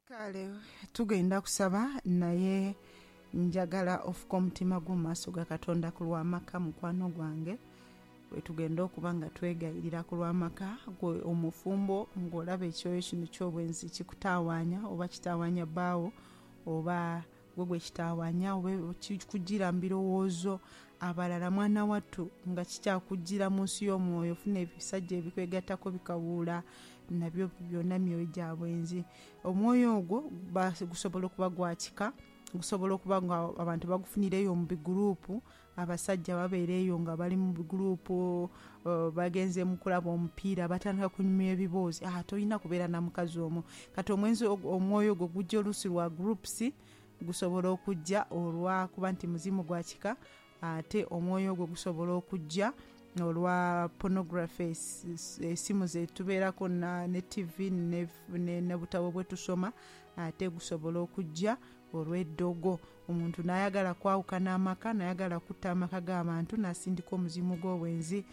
Kale tugenda kusaba, naye njagala ofuke omutima gwo mu maaso ga Katonda ku lw'amaka, mukwano gwange. Bwetugenda okuba nga twegayirira ku lw'amaka, gwe omufumbo ng'olaba ekyoyo kino eky'obwenzi kikutawaanya oba kitawaanya bbaawo oba gwe gwekitawaanya oba kikujira mu birowoozo, abalala mwana wattu nga kikyakujira mu nsi y'omwoyo, ofuna ebisajja ebikwegattaku bikawuula nabyo byona myoyo gya bwenzi. Omwoyo ogwo gusobola okuba gwa kika, gusobola okuba nga abantu bagufunira eyo mu biguruupu, abasajja babeera eyo nga bali mu biguruupu bagenze mu kulaba omupiira batandika kunyumya ebiboozi, ah tolina kubeera na mukazi omwo. Kati omwenzi omwoyo ogwo gujja oluusi lwa groups, gusobola okujja olwakuba nti muzimu gwa kika, ate omwoyo ogwo gusobola okujja olwa pornography, esimu zetubeeraku ne tivi n'obutabo bwetusoma, ate gusobola okujja olw'eddogo. Omuntu n'ayagala kwawukana amaka, n'ayagala kutta amaka g'abantu, n'asindika omuzimu gw'obwenzi,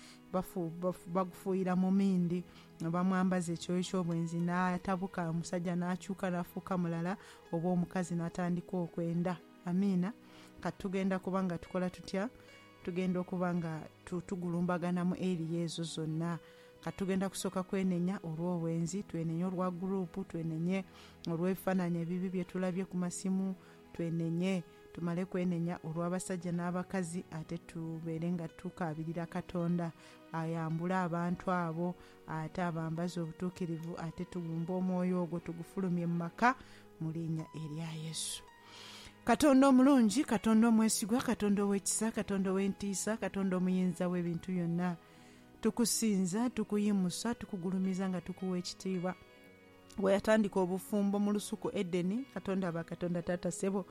bagufuuyira mu mindi, bamwambaza ekyoyo ky'obwenzi n'atabuka, omusajja n'akyuka n'afuuka mulala oba omukazi n'atandika okwenda. Amiina. Kati tugenda kuba nga tukola tutya? Tugenda okuba nga tugulumbagana mu eriya ezo zonna. Kati tugenda kusooka kwenenya olw'obwenzi, twenenye olwa guruupu, twenenye olw'ebifaananyi ebibi bye tulabye ku masimu, twenenye, tumale kwenenya olw'abasajja n'abakazi, ate tubeere nga tukaabirira Katonda ayambule abantu abo, ate abambaze obutuukirivu, ate tugumbe omwoyo ogwo tugufulumye mu maka mu liinya erya Yesu. Katonda omulungi, Katonda omwesigwa, Katonda ow'ekisa, Katonda ow'entiisa, Katonda omuyinza w'ebintu byonna, tukusinza, tukuyimusa, tukugulumiza nga tukuwa ekitiibwa. Bwe yatandika obufumbo mu lusuku Edeni, Katonda aba Katonda taata sebo,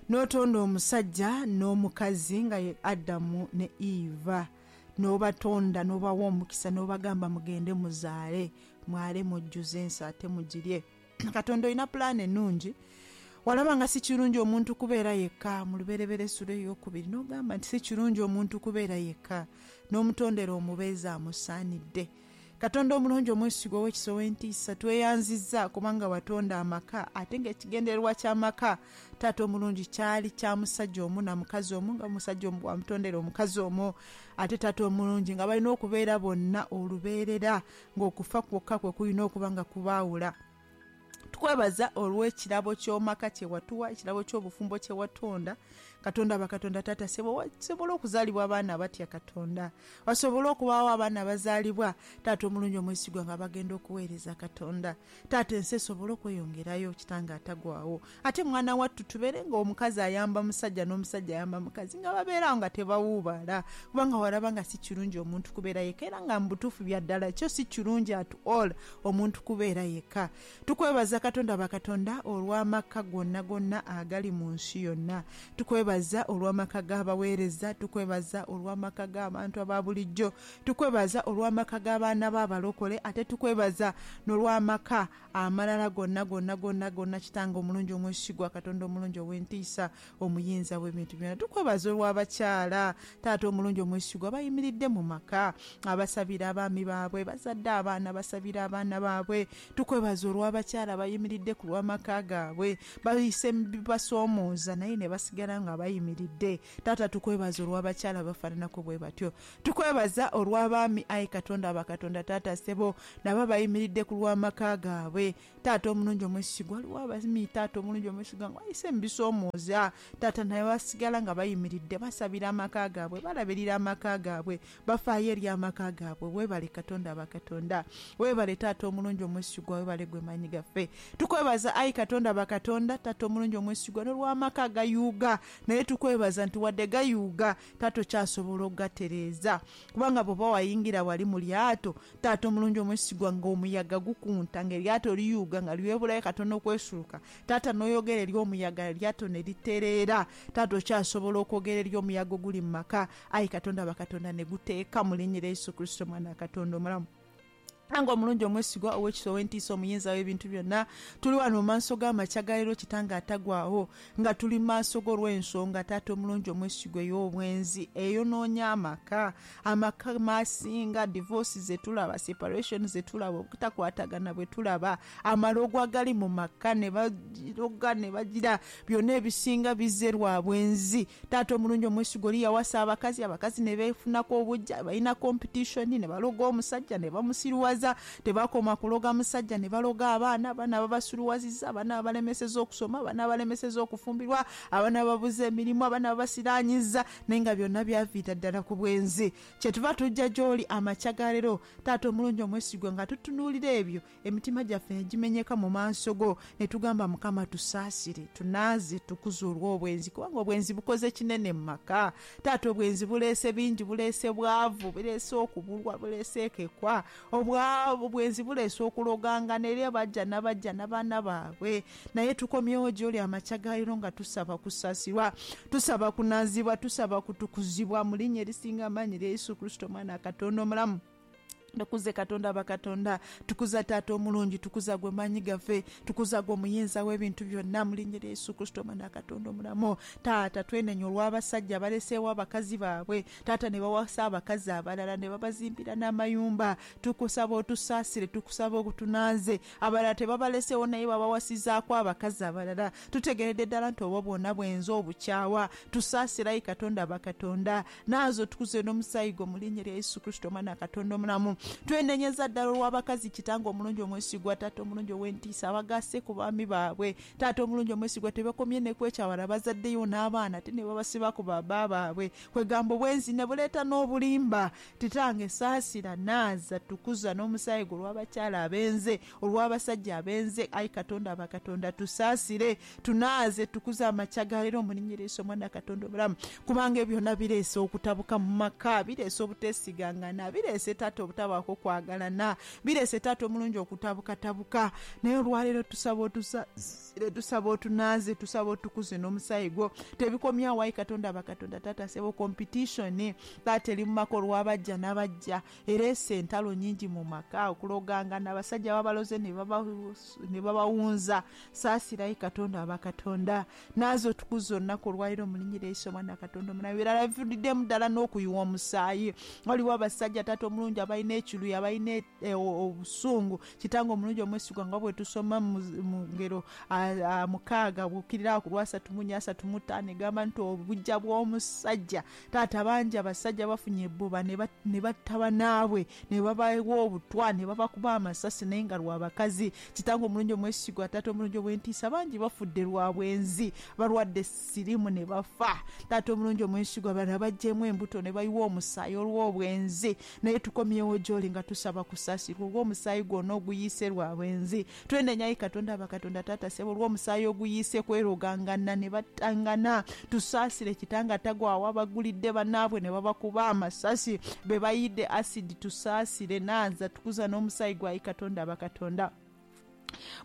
n'otonda omusajja n'omukazi nga ye Adamu ne Eva, n'obatonda n'obawa omukisa n'obagamba mugende muzaale, mwale mujjuze ensi ate mugirye. Katonda olina pulaani enungi. Walaba nga si kirungi omuntu kubeera yekka mu Lubereberye esula eyokubiri n'ogamba nti si kirungi omuntu kubeera yekka, n'omutondera omubeezi amusaanidde. Katonda omulungi omwesigwa ow'ekisa ow'entiisa, tweyanziza kubanga watonda amaka ate nga ekigendererwa ky'amaka taata omulungi kyali kya musajja omu na mukazi omu, nga omusajja omu bwamutondera omukazi omu, ate taata omulungi nga balina okubeera bonna olubeerera ng'okufa kwokka kwe kulina okuba nga kubaawula. Tukwebaza olw'ekirabo ky'omaka kye watuwa, ekirabo ky'obufumbo kye watonda. Katonda aba Katonda taata sebo, wasobola okuzaalibwa abaana abatya Katonda. Wasobola okubaagho abaana abazaalibwa taata omulungi omwesigwa nga bagenda okuweereza Katonda. Taata ensi esobole okweyongerayo kitange atagwagho. Ate mwana wattu tubeere nga omukazi ayamba musajja n'omusajja ayamba mukazi nga babeera agho nga tebawuubaala. Kubanga walaba nga si kirungi omuntu kubeera yeka era nga mu butuufu bya ddala kyo si kirungi at all omuntu kubeera yeka. Tukwebaza Katonda ba Katonda olw'amaka gonagona agali mu nsi yonna. Tukwebaza olw'amaka g'abaweereza, tukwebaza olw'amaka g'abantu aba bulijjo, tukwebaza olw'amaka g'abaana b'abalokole ate tukwebaza n'olw'amaka amalala gonagona gonagona Kitange omulungi omwesigwa, Katonda omulungi ow'entiisa, omuyinza w'ebintu byona. Tukwebaza olw'abakyala taata omulungi omwesigwa abayimiridde mu maka, abasabira abaami baabwe, bazadde abaana basabira abaana baabwe. Tukwebaza olw'abakyala abayimiridde ku lw'amaka gaabwe, bayise mu bibasoomooza naye ne basigala nga bayimiridde. Taata tukwebaza olw'abakyala abafaananaku bwe batyo. Tukwebaza olw'abaami aye Katonda aba Katonda taata sebo nabo abayimiridde ku lw'amaka gaabwe. Taata omulungi omwesigwa, ghaligho abaami taata omulungi omwesigwa nga bayise mu bisoomooza taata naye basigala nga bayimiridde, basabira amaka gaabwe, balabirira amaka gaabwe, bafaayo eri amaka gaabwe. Webale Katonda aba Katonda. Webale taata omulungi omwesigwa, webale gwe maanyi gaffe. Tukwebaza ayi Katonda aba Katonda, taata omulungi omwesigwa n'olw'amaka agayuuga. Naye tukwebaza nti wadde gayuuga, taata okyasobola okugatereeza. Kubanga bw'oba wayingira wali mu lyato, taata omulungi omwesigwa, nga omuyaga gukunta, nga eryato liyuuga nga lyebulayo katono okwesuluka, taata n'oyogera eri omuyaga eryato ne litereera. Taata okyasobola okwogera eri omuyaga oguli mu maka, aye Katonda aba Katonda ne guteeka mu linnya erya Yesu Kurisito Omwana wa Katonda omulamu. Nga omulungi omwesigwa, ow'ekisa, ow'entiisa, omuyinza w'ebintu byonna, tuli wano mu maaso g'amakya ga leero, Kitange atagwawo, nga tuli mu maaso go olw'ensonga, Taata omulungi omwesigwa, ey'obwenzi eyonoonya amaka. Amaka masinga divorce zetulaba, separation zetulaba, obutakwatagana bwe tulaba, amalogo agali mu maka ne bagiroga ne bagira, byonna ebisinga bizze lwa bwenzi. Taata omulungi omwesigwa, oli yawasa abakazi, abakazi ne beefunaku obujja, balina competition, ne baloga omusajja ne bamusiruwaza. Tebakoma kuloga musajja, ne baloga abaana, abaana babasuluwaziza, abaana babalemeseza okusoma, abaana babalemeseza okufumbirwa, abaana bababuza emirimu, abaana babasiranyiza, naye nga byonna byaviira ddala ku bwenzi. Kyetuva tujja gy'oli amakya ga leero, Taata omulungi omwesigwa, nga tutunuulira ebyo, emitima gyaffe ne gimenyeka mu maaso go, ne tugamba, Mukama tusaasire, tunaaze, tukuze olw'obwenzi, kubanga obwenzi bukoze kinene mu maka. Taata, obwenzi buleese bingi, buleese bwavu, buleese okubulwa, buleese ekekwa, obwenzi buleese okulogangana eri abajja n'abajja n'abaana baabwe. Naye tukomyewo gy'oli amakya ga leero nga tusaba kusaasirwa, tusaba kunaazibwa, tusaba kutukuzibwa mu linnya erisinga amaanyi erya Yesu Kristo, Omwana wa Katonda omulamu. Tukuze Katonda bakatonda, tukuza Taata omulungi, tukuza gwe maanyi gaffe, tukuza gwe omuyinza w'ebintu byonna mu linnya erya Yesu Kristo, Omwana wa Katonda omulamu. Taata, twenenya olw'abasajja abaleseewo abakazi baabwe, Taata, ne bawasa abakazi abalala ne babazimbira n'amayumba. Tukusaba otusaasire, tukusaba otunaaze. Abalala tebabaleseewo naye babawasizaaku abakazi abalala. Tutegeeredde ddala nti obwo bwona bwenzi obukyawa. Tusaasire ayi Katonda bakatonda. Naaza otukuze n'omusaayi gwo mu linnya erya Yesu Kristo, Omwana wa Katonda omulamu. Twenenyeza ddala olw'abakazi, Kitange omulungi omwesigwa, Taata omulungi ow'entiisa, abagaase ku baami baabwe. Taata omulungi omwesigwa, tebakomye ne ku ekyo, abalala bazaddeyo n'abaana ate ne babasiba ku baba baabwe. Kwegamba obwenzi ne buleeta n'obulimba. Kitange saasira, naaza, tukuza n'omusaayi gwo olw'abakyala abenze, olw'abasajja abenze. Ayi Katonda bakatonda, tusaasire, tunaaze, tukuze amakya ga leero mu linnya erya Yesu, Omwana wa Katonda omulamu. Kubanga ebyo byonna bireese okutabuka mu maka, bireese obuteesigangana, bireese taata obutabaako kwagalana, bireese taata omulungi okutabukatabuka. Naye olwaleero tusaba otusaasire, tusaba otunaaze, tusaba otukuze n'omusaayi gwo. Tebikomye awo ayi Katonda bakatonda, taata sebo, competition taata eri mu maka olw'abajja n'abajja ereese entalo nyingi mu maka, okulogangana, abasajja babaloze ne babawunza. Saasira ayi Katonda abakatonda, naaza otukuze olunaku olwaleero mu linnya erya Yesu, Omwana wa Katonda omulamu. Ebirala bivuddemu ddala n'okuyiwa omusaayi. Waliwo abasajja, taata omulungi, abalina ekiruyi, abalina obusungu. Kitange omulungi omwesigwa, nga bwe tusoma mu ngero 6 bw'okkirira ku lwasatu mu nnya asatu mu ttaano, egamba nti obujja bw'omusajja. Taata, bangi abasajja bafunye ebbuba ne batta banaabwe, ne babawa obutwa, ne babakuba amasasi, naye nga lwa bakazi. Kitange omulungi omwesigwa, taata omulungi ow'entiisa, bangi bafudde lwa bwenzi, balwadde siriimu ne bafa. Taata omulungi omwesigwa, abalala baggyemu embuto ne bayiwa omusaayi olw'obwenzi. Naye tukomyewo gy'oli nga tusaba kusaasirwa olw'omusaayi gwona oguyiise lwa bwenzi. Twenenya ayi Katonda bakatonda, taata sebo, olw'omusaayi oguyiise kwerogangana ne battangana. Tusaasire Kitange atagwawo, abagulidde banaabwe ne babakuba amasasi, be bayidde asidi. Tusaasire, naaza, tukuza n'omusaayi gwa ayi Katonda bakatonda,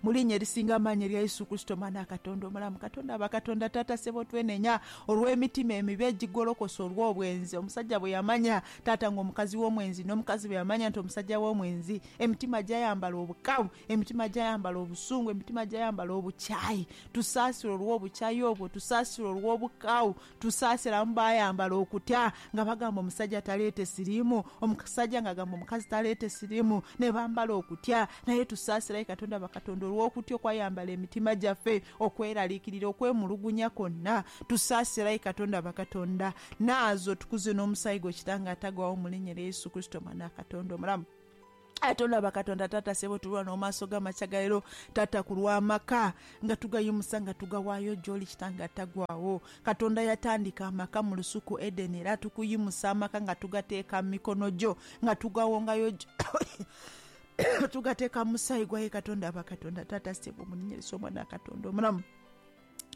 mu linnya erisinga amaanyi erya Yesu Kristo, Omwana wa Katonda omulamu. Katonda bakatonda, taata sebo, twenenya olw'emitima emibi egigolokosa olw'obwenzi. Omusajja bwe yamanya, taata, nga omukazi w'omwenzi, n'omukazi bwe yamanya nti omusajja w'omwenzi, emitima gyayambala obukawu, emitima gyayambala obusungu, emitima gyayambala obukyayi. Tusaasire olw'obukyayi obwo, tusaasire olw'obukawu, tusaasire abamu bayambala okutya nga bagamba omusajja taleete siriimu, omusajja nga agamba omukazi taleete siriimu, ne bambala okutya. Naye tusaasire ayi Katonda bakatonda olw'okutya okwayambala emitima gyaffe, okweraliikirira, okwemulugunya kwonna. Tusaasire ayi Katonda bakatonda, naaza otukuze n'omusaayi gwo Kitange atagwawo mu linnya erya Yesu Kristo, Omwana wa Katonda omulamu. Katonda bakatonda, taata sebo, tulwa n'omaaso g'amakya ga leero, taata, ku lw'amaka nga tugayimusa nga tugawaayo gy'oli, Kitange atagwawo. Katonda yatandika amaka mu lusuku Edeni, era tukuyimusa amaka nga tugateeka mu mikono gyo, nga tugawongayo tugateeka mu musaayi gwa ye Katonda bakatonda, taata sebo, mu linnya erya Yesu, Omwana wa Katonda omulamu.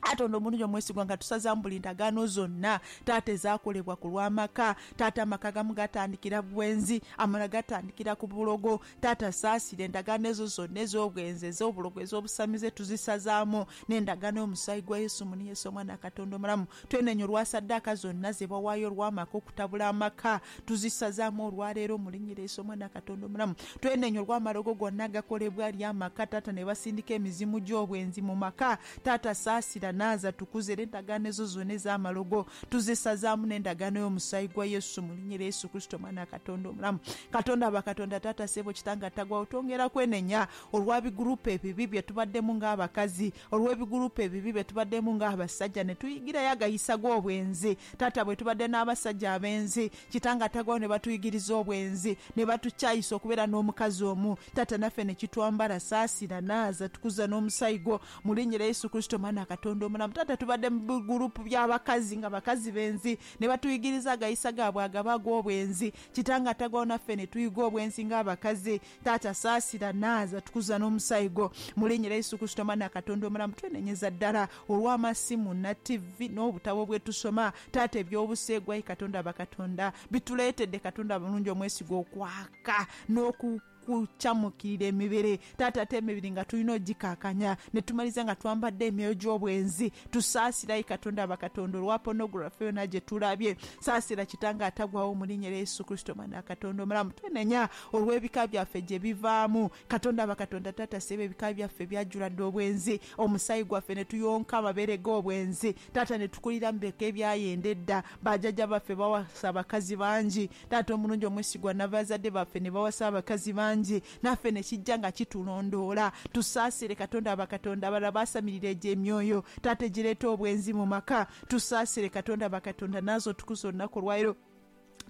Katonda omulungi omwesigwa, nga tusazaamu buli ndagaano zonna taata ezaakolebwa ku lw'amaka. Taata, amaka agamu gatandikira bwenzi, amalala gatandikira ku bulogo. Taata saasira endagaano ezo zonna ez'obwenzi, ez'obulogo, ez'obusamize tuzisazaamu n'endagaano y'omusaayi gwa Yesu muni Yesu Omwana wa Katonda omulamu. Twenenya olwa saddaaka zonna ze bawaayo olw'amaka okutabula amaka, tuzisazaamu olwaleero mu linnya erya Yesu Omwana wa Katonda omulamu. Twenenya olw'amalogo gonna agakolebwa eri amaka taata ne basindika emizimu gy'obwenzi mu maka. Taata saasira naaza tukuze era endagaano ezo zona ez'amalogo tuzisazaamu n'endagaano y'omusaayi gwa Yesu mu linnya erya Yesu Kurisito Omwana wa Katonda omulamu. Katonda wa bakatonda taata sebo kitange atagwawo twongera kwenenya olwa bigurupu ebibi bye tubaddemu ng'abakazi, olw'ebigurupu ebibi bye tubaddemu ng'abasajja ne tuyigirayo agayisa g'obwenzi. Taata bwe tubadde n'abasajja abenzi kitange atagwawo ne batuyigiriza obwenzi ne batukyayisa okubeera n'omukazi omu taata naffe ne kitwambala. Saasira naaza tukuza n'omusaayi gwo mu linnya erya Yesu Kurisito Omwana wa Katonda omulamu. Taata tubadde mu bigurupu by'abakazi nga bakazi benzi ne batuyigiriza agayisa gaabwe agaba ag'obwenzi kitange atagwawo naffe ne tuyiga obwenzi ng'abakazi. Taata saasira naaza tukuza n'omusaayi gwo mu linnya erya Yesu Kurisito Omwana wa Katonda omulamu. Twenenyeza ddala olw'amasimu na tivi n'obutabo bwe tusoma taata eby'obuseegu ayi Katonda bakatonda bituleetedde Katonda mulungi omwesigwa okwaka n'oku kukyamukirira emibiri. Taata ate emibiri nga tulina ogikakanya ne tumaliza nga twambadde emyoyo gy'obwenzi. Tusaasire ayi Katonda bakatonda olwa pornography yona gye tulabye. Saasira kitange atagwawo mu linnya erya Yesu Kurisito Omwana wa Katonda omulamu. Twenenya olw'ebika byaffe gye bivaamu. Katonda bakatonda taata sebo ebika byaffe byajjula dda obwenzi, omusaayi gwaffe ne tuyonka amabeere g'obwenzi taata ne tukulira mu bika ebyayenda edda. Bajjajja baffe bawasa abakazi bangi taata omulungi omwesigwa, n'abazadde baffe ne bawasa abakazi bangi naffe ne kijja nga kitulondoola. Tusaasire Katonda bakatonda abalala baasamirira egyo emyoyo taata egireeta obwenzi mu maka. Tusaasire Katonda bakatonda naaza otukuze olunaku olwaleero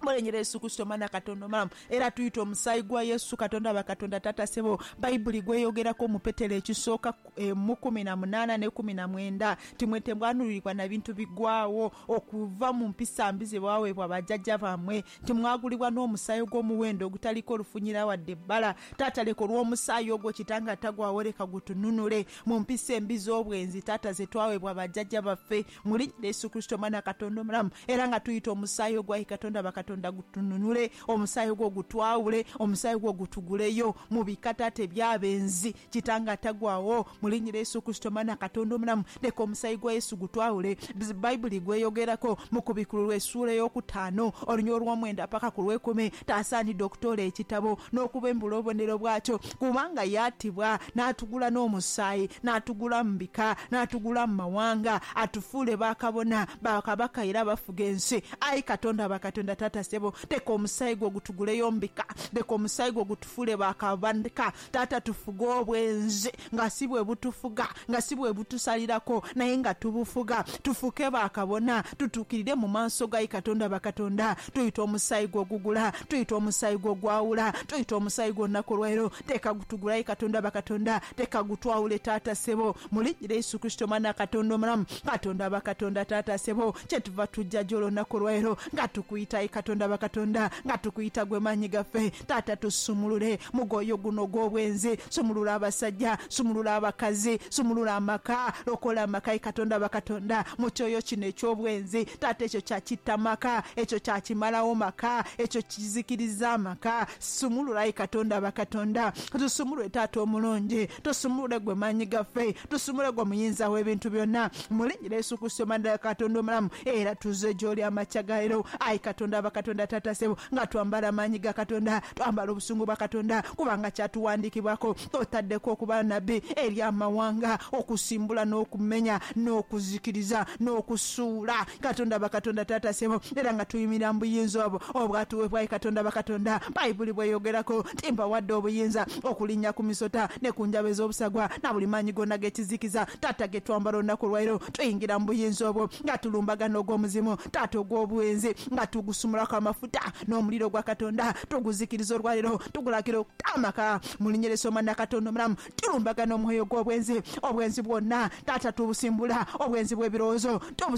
mulenyera Yesu Kurisito Omwana wa Katonda omulamu. Era tuyita omusaayi gwa Yesu Katonda bakatonda taata sebo Baibuli gweyogerako mu Petero ekisooka mu 18 ne 19 nti mwe temwanulirwa na bintu bigwawo okuva mu mpisa mbi ze bwaweebwa bajjajja bammwe, nti mwagulibwa n'omusaayi ogw'omuwendo ogutaliiko lufunyira wadde ebbala. Taata leka olw'omusaayi ogwo kitange atagwawo leka gutununule mu mpisa embi z'obwenzi taata ze twaweebwa bajjajja baffe mu linnya erya Yesu Kurisito Omwana wa Katonda omulamu. Era nga tuyita omusaayi ogwo ayi Katonda bakatonda gutununule, omusaayi ogwo gutwawule, omusaayi ogwo gutuguleyo mu bika taata eby'abenzi kitange atagwawo mu linnya erya Yesu Kurisito Omwana wa Katonda omulamu. Leka omusaayi gwa Yesu gutwawule. Baibuli gweyogerako mu Kubikulirwa essuula ey'okutaano oluny olw'omwenda paka ku lw'ekumi, Taasaanidde okutoola ekitabo n'okubembula obubonero bwakyo, kubanga yaatibwa n'atugula n'omusaayi, n'atugula mu bika, n'atugula mu mawanga, atufuule bakabona, bakabaka era abafuga ensi. Ayi Katonda wa bakatonda Taata sebo, leka omusaayi gwo gutuguleyo mu bika, leka omusaayi gwo gutufuule bakabaka. Taata tufuge obwenzi nga si bwe butufuga, nga si bwe butusaliraku, naye nga tubufuga. Tufuuke bakabona, tutuukirire mu maaso go ayi Katonda wa bakatonda. Tuyita omusaayi gwo ogugula, tuyita omusaayi gwo ogwawula, tuyita omusaayi gwo olunaku olwaleero. Leka gutugule ayi Katonda wa bakatonda, leka gutwawule Taata sebo, mu linnya erya Yesu Kurisito Omwana wa Katonda omulamu. Katonda wa bakatonda Taata sebo, kyetuva tuja gy'oli olunaku olwaleero nga tukuyita ayi Katonda wa bakatonda, nga tukuyita gwe maanyi gaffe. Taata tusumulule mugoyo guno ogw'obwenzi, sumulula abasajja, sumulula abakazi, sumulula amaka, lokola amaka ayi Katonda wa bakatonda mu kyoyo kino eky'obwenzi. Taata ekyo kya kitta maka, ekyo kya kimalagho maka, ekyo kizikiriza amaka. Sumulula ayi Katonda wa bakatonda, tusumulule Taata omulungi, tusumulule gwe maanyi gaffe, tusumulule gwe omuyinza w'ebintu byonna. Mu linnya erya Yesu Kurisito Omwana wa Katonda omulamu, era tuze gy'oli amakya ga leero ayi Katonda wa bakatonda Taata sebo, nga twambala amaanyi ga Katonda, twambala obusungu bwa Katonda, kubanga kyatuwandiikibwaku otaddeku okuba nabbi eri amawanga, okusimbula n'okumenya n'okuzikiriza n'okusuula. Katonda bakatonda Taata sebo, era nga tuyimirira mu buyinza obwo obwatuweebwa ayi Katonda bakatonda. Baibuli bw'eyogeraku nti, Mbawadde obuyinza okulinnya ku misota ne ku njaba ez'obusagwa na buli maanyi goona ag'ekizikiza. Taata ge twambala olunaku olwairo, tuyingira mu buyinza obwo nga tulumbagana ogw'omuzimu, Taata, ogw'obwenzi, nga tugusumulaku amafuta n'omuliro gwa Katonda, tuguzikiriza olwaleero, tugulagira okuta amaka. Mu linnya erya Yesu Omwana wa Katonda omulamu, tulumbagana omwoyo ogw'obwenzi, obwenzi bwonna, Taata, tubusimbula, obwenzi bw'ebirowoozo, tubusimbula.